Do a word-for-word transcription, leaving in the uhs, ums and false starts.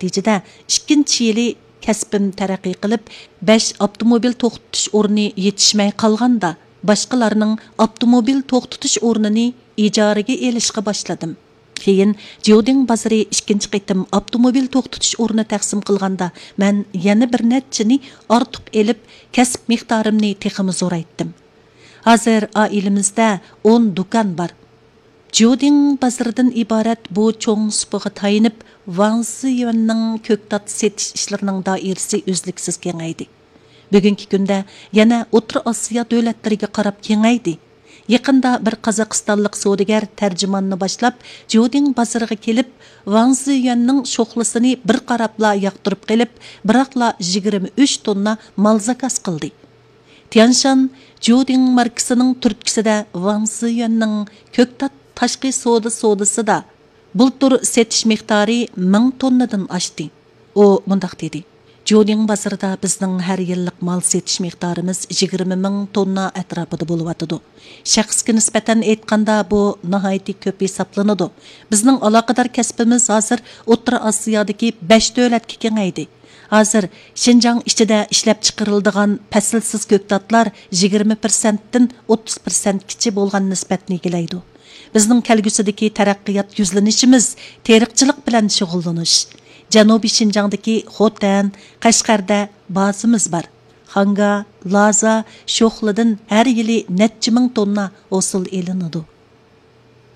نەتىجىدە، ئىككىنچى يىلى كەسپىم تەرەققىي قىلىپ، بەش ئاپتوموبىل توختىتىش ئورنى يېتىشمەي قالغاندا، باشقىلارنىڭ ئاپتوموبىل توختىتىش ئورنىنى ئىجارىگە ئېلىشقا باشلىدىم. كېيىن جيۇدىڭ بازىرى ئىككىنچى قېتىم ئاپتوموبىل توختىتىش ئورنى تەقسىم قىلغاندا، مەن يەنە بىر نەچچىنى ئارتۇق ئېلىپ، كەسىپ مىقدارىمنى تېخىمۇ زورايتتىم. ھازىر ئائىلىمىزدە ئون دۇكان بار. جيۇدىڭ بازىرىدىن ئىبارەت بۇ چوڭ سۇپىغا تايىنىپ، ۋاڭ زىيۈەننىڭ كۆكتات سېتىش ئىشلىرىنىڭ دائىرىسى ئۈزلۈكسىز كېڭەيدى. بۈگۈنكى كۈندە يەنە ئوتتۇرا ئاسىيا دۆلەتلىرىگە قاراپ كېڭەيدى. يېقىندا بىر قازاقىستانلىق سودىگەر تەرجىماننى باشلاپ، جيۇدىڭ بازىرىغا كېلىپ، ۋاڭ زىيۈەننىڭ شوخلىسىنى بىر قاراپلا ياقتۇرۇپ قېلىپ، بىراقلا يىگىرمە ئۈچ توننا مال زاكاز قىلدى. تيانشان جيۇدىڭ ماركىسىنىڭ تۈرتكىسىدە ۋاڭ زىيۈەننىڭ كۆكتات تاشقى سودا سودىسىدا بۇلتۇر سېتىش مىقدارى مىڭ توننىدىن ئاشتى. ئۇ مۇنداق دېدى: جيۇدىڭ بازىرىدا بىزنىڭ ھەر يىللىق مال سېتىش مىقدارىمىز يىگىرمە مىڭ توننا ئەتراپىدا بولۇۋاتىدۇ. شەخسكە نىسبەتەن ئېيتقاندا، بۇ ناھايىتى كۆپ ھېسابلىنىدۇ. بىزنىڭ ئالاقىدار كەسپىمىز ھازىر ئوتتۇرا ئاسىيادىكى بەش دۆلەتكە كېڭەيدى. ھازىر شىنجاڭ ئىچىدە ئىشلەپچىقىرىلىدىغان پەسىلسىز كۆكتاتلار يىگىرمە پىرسەنتتىن ئوتتۇز پىرسەنتكىچە بولغان نىسبەتنى ئىگىلەيدۇ. بىزنىڭ كەلگۈسىدىكى تەرەققىيات يۈزلىنىشىمىز تېرىقچىلىق بىلەن شۇغۇللىنىش. جەنۇبىي شىنجاڭدىكى خوتەن، قەشقەردە بازىمىز بار. خاڭگا، لازا، شوخلىدىن ھەر يىلى نەچچە مىڭ توننا ھوسۇل ئېلىنىدۇ.